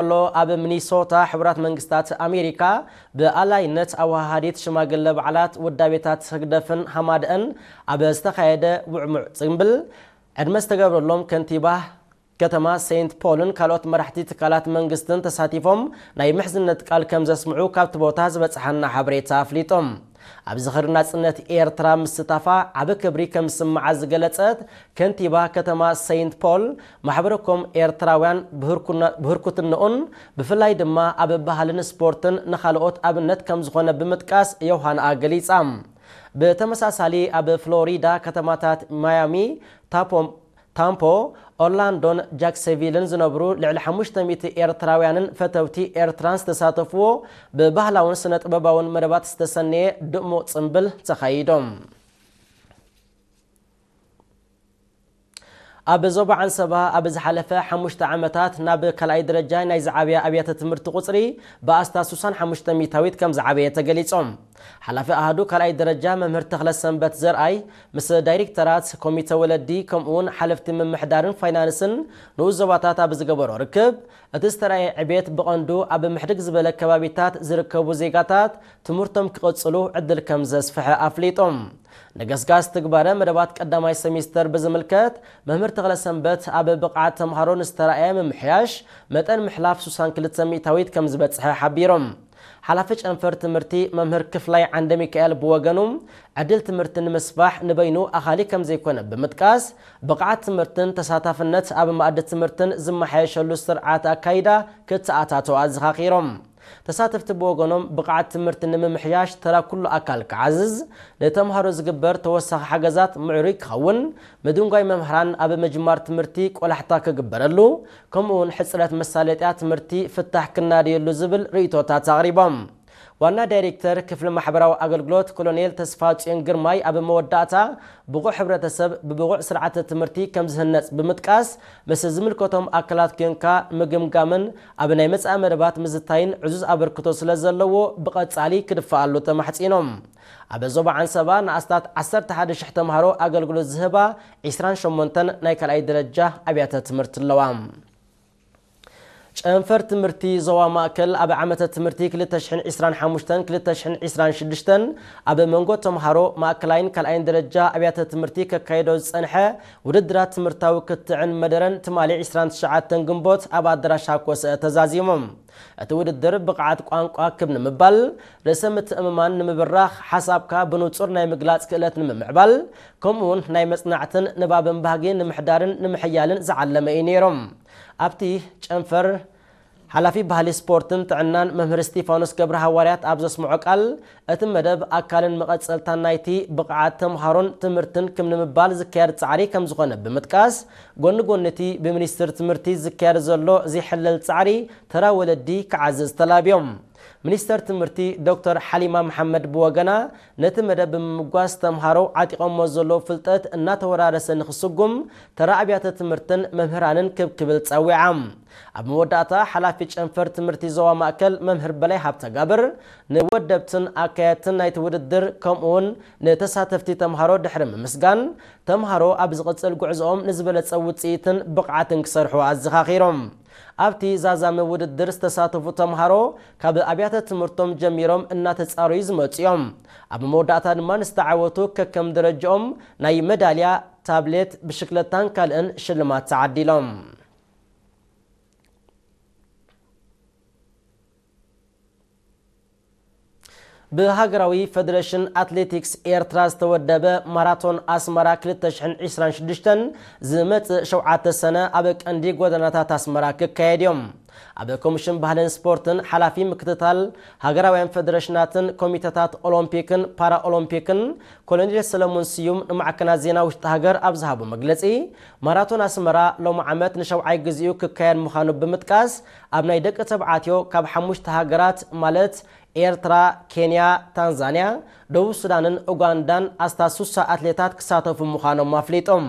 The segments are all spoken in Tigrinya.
ከሎ፣ ኣብ ሚኒሶታ ሕቡራት መንግስታት ኣሜሪካ ብኣላይነት ኣወሃሃዲት ሽማግለ በዓላት ውዳቤታት ህግደፍን ሃማደአን ኣብ ዝተኻየደ ውዕሙዕ ጽምብል፣ ዕድመ ዝተገብረሎም ከንቲባ ከተማ ሴንት ፖልን ካልኦት መራሕቲ ትካላት መንግስትን ተሳቲፎም ናይ ምሕዝነት ቃል ከም ዘስምዑ ካብቲ ቦታ ዝበጽሓና ሓበሬታ ኣፍሊጦም። ኣብ ዝኽሪ ናጽነት ኤርትራ ምስታፋ ዓቢ ክብሪ ከም ዝስምዓ ዝገለጸት ከንቲባ ከተማ ሴንት ፖል፣ ማሕበረኮም ኤርትራውያን ብህርኩና-፣ ብህርኩትንኡን ብፍላይ ድማ ኣብ ባህልን ስፖርትን ንኻልኦት ኣብነት ከም ዝኾነ ብምጥቃስ ዮሃንኣ ገሊጻ። ብተመሳሳሊ ኣብ ፍሎሪዳ ከተማታት ማያሚ፣ ታፖ፣ ታምፖ፣ ኦርላንዶን ጃክሰቪልን ዝነብሩ ልዕሊ ሓሙሽተ ሚእቲ ኤርትራውያንን ፈተውቲ ኤርትራን ዝተሳተፍዎ ብባህላውን ስነ ጥበባውን መደባት ዝተሰነየ ድሙቕ ጽምብል ተኻይዶም። ኣብ ዞባ ዓንሰባ ኣብ ዝሓለፈ ሓሙሽተ ዓመታት ናብ ካልኣይ ደረጃ ናይ ዝዓበያ ኣብያተ ትምህርቲ ቁጽሪ ብኣስታት ስሳን ሓሙሽተ ሚእታዊት ከም ዝዓበየ ተገሊጾም። ሓላፊ ኣሃዱ ካልኣይ ደረጃ መምህር ተኽለ ሰንበት ዘርኣይ ምስ ዳይሬክተራት ኮሚተ ወለዲ ከምኡውን ሓለፍቲ ምምሕዳርን ፋይናንስን ንኡስ ዞባታት ኣብ ዝገበሮ ርክብ፣ እቲ ዝተራእየ ዕቤት ብቐንዱ ኣብ ምሕድግ ዝበለ ከባቢታት ዝርከቡ ዜጋታት ትምህርቶም ክቕጽሉ ዕድል ከም ዘስፍሐ ኣፍሊጦም። ንገስጋስ ትግባረ መደባት ቀዳማይ ሰሚስተር ብዝምልከት፣ መምህር ተኽለ ሰንበት ኣብ ብቕዓት ተምሃሮ ንዝተራእየ ምምሕያሽ መጠን ምሕላፍ ስሳን ክልተ ሚእታዊት ከም ዝበጽሐ ሓቢሮም። ሓላፊ ጨንፈር ትምህርቲ መምህር ክፍላይ ዓንደ ሚካኤል ብወገኑ፣ ዕድል ትምህርቲ ንምስፋሕ ንበይኑ ኣኻሊ ከም ዘይኮነ ብምጥቃስ፣ ብቕዓት ትምህርትን ተሳታፍነት ኣብ መኣዲ ትምህርትን ዝመሓየሸሉ ስርዓት ኣካይዳ ክተኣታተው ኣዘኻኺሮም። ተሳተፍቲ ብወገኖም፣ ብቕዓት ትምህርቲ ንምምሕያሽ ተራ ኩሉ ኣካል ክዓዝዝ፣ ንተምሃሮ ዝግበር ተወሳኺ ሓገዛት ምዕሩይ ክኸውን፣ ምድንጓይ መምህራን ኣብ ምጅማር ትምህርቲ ቆላሕታ ክግበረሉ፣ ከምኡውን ሕጽረት መሳለጥያ ትምህርቲ ፍታሕ ክናደየሉ ዝብል ርእይቶታት ኣቕሪቦም። ዋና ዳይሬክተር ክፍሊ ማሕበራዊ ኣገልግሎት ኮሎኔል ተስፋጽዮን ግርማይ ኣብ መወዳእታ፣ ብቑዕ ሕብረተሰብ ብብቑዕ ስርዓተ ትምህርቲ ከም ዝህነጽ ብምጥቃስ፣ ምስ ዝምልከቶም ኣካላት ኴንካ ምግምጋምን ኣብ ናይ መጻኢ መደባት ምዝታይን ዕዙዝ ኣበርክቶ ስለ ዘለዎ ብቐጻሊ ክድፈኣሉ ተማሕጺኖም። ኣብ ዞባ ዓንሰባ ንኣስታት ዓሰርተ ሓደ ሽሕ ተምሃሮ ኣገልግሎት ዝህባ ዒስራን ሸሞንተን ናይ ካልኣይ ደረጃ ኣብያተ ትምህርቲ ኣለዋ። ጨንፈር ትምህርቲ ዞባ ማእከል ኣብ ዓመተ ትምህርቲ ክልተ ሽሕን ዕስራን ሓሙሽተን ክልተ ሽሕን ዕስራን ሽዱሽተን ኣብ መንጎ ተምሃሮ ማእከላይን ካልኣይን ደረጃ ኣብያተ ትምህርቲ ከካይዶ ዝጸንሐ ውድድራት ትምህርታዊ ክትዕን መደረን ትማሊ ዕስራን ትሽዓተን ግንቦት ኣብ ኣዳራሽ ሃኮሰ ተዛዚሞም። እቲ ውድድር ብቕዓት ቋንቋ ክብ ንምባል፣ ርእሰ ምትእምማን ንምብራኽ፣ ሓሳብካ ብንጹር ናይ ምግላጽ ክእለት ንምምዕባል፣ ከምኡውን ናይ መጽናዕትን ንባብን ባህጊ ንምሕዳርን ንምሕያልን ዝዓለመ እዩ ነይሮም። ኣብቲ ጨንፈር፣ ሓላፊ ባህሊ ስፖርትን ጥዕናን መምህር እስጢፋኖስ ገብረ ሃዋርያት ኣብ ዘስምዖ ቃል፣ እቲ መደብ ኣካልን መቐጸልታን ናይቲ ብቕዓት ተምሃሮን ትምህርትን ክብ ንምባል ዝካየድ ጻዕሪ ከም ዝኾነ ብምጥቃስ፣ ጎኒ ጎኒ እቲ ብሚኒስትሪ ትምህርቲ ዝካየድ ዘሎ ዘይሕለል ጻዕሪ ተራ ወለዲ ክዓዝዝ ተላብዮም። ሚኒስተር ትምህርቲ ዶክተር ሓሊማ መሓመድ ብወገና፣ ነቲ መደብ ብምምጓስ ተምሃሮ ዓጢቖሞ ዘለዉ ፍልጠት እናተወራረሰ ንክስጉም ተራ ኣብያተ ትምህርትን መምህራንን ክብ ክብል ጸዊዓ። ኣብ መወዳእታ ሓላፊ ጨንፈር ትምህርቲ ዞባ ማእከል መምህር በላይ ሃብተጋብር ንወደብትን ኣካየድትን ናይቲ ውድድር ከምኡውን ንተሳተፍቲ ተምሃሮ ድሕሪ ምምስጋን፣ ተምሃሮ ኣብ ዝቕጽል ጉዕዞኦም ንዝበለጸ ውጽኢትን ብቕዓትን ክሰርሑ ኣዘኻኺሮም። ኣብቲ ዛዛሚ ውድድር ዝተሳተፉ ተምሃሮ ካብ ኣብያተ ትምህርቶም ጀሚሮም እናተጻረዩ ዝመጹ እዮም። ኣብ መወዳእታ ድማ ንዝተዓወቱ ከከም ደረጃኦም ናይ መዳልያ፣ ታብሌት፣ ብሽክለታን ካልእን ሽልማት ተዓዲሎም። ብሃገራዊ ፈደረሽን ኣትሌቲክስ ኤርትራ ዝተወደበ ማራቶን ኣስመራ ክልተ ሽሕን ዕስራን ሽዱሽተን ዝመጽእ ሸውዓተ ሰነ ኣብ ቀንዲ ጎደናታት ኣስመራ ክካየድ እዮም። ኣብ ኮሚሽን ባህልን ስፖርትን ሓላፊ ምክትታል ሃገራውያን ፈደረሽናትን ኮሚተታት ኦሎምፒክን ፓራኦሎምፒክን ኮሎኔል ሰለሙን ስዩም ንማዕከናት ዜና ውሽጢ ሃገር ኣብ ዝሃቦ መግለጺ፣ ማራቶን ኣስመራ ሎሚ ዓመት ንሸውዓይ ግዜኡ ክካየድ ምዃኑ ብምጥቃስ፣ ኣብ ናይ ደቂ ተባዕትዮ ካብ ሓሙሽተ ሃገራት ማለት ኤርትራ፣ ኬንያ፣ ታንዛንያ፣ ደቡብ ሱዳንን ኡጋንዳን ኣስታት ሱሳ ኣትሌታት ክሳተፉ ምዃኖም ኣፍሊጦም።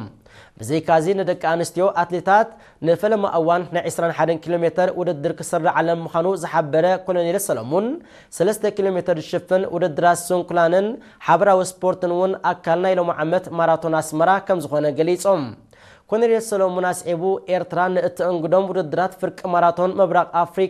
ብዘይካዚ ንደቂ ኣንስትዮ ኣትሌታት ንፈለማ እዋን ናይ ዕስራን ሓደን ኪሎ ሜተር ውድድር ክስረዓለን ምዃኑ ዝሓበረ ኮሎኔል ሰለሙን፣ ሰለስተ ኪሎ ሜተር ዝሽፍን ውድድራት ስንኩላንን ሓበራዊ ስፖርትን እውን ኣካል ናይ ሎሚ ዓመት ማራቶን ኣስመራ ከም ዝኾነ ገሊጾም። ኮነሬል ሰሎሙን ኣስዒቡ፣ ኤርትራ ንእተእንግዶም ውድድራት ፍርቂ ማራቶን ምብራቕ ኣፍሪቃ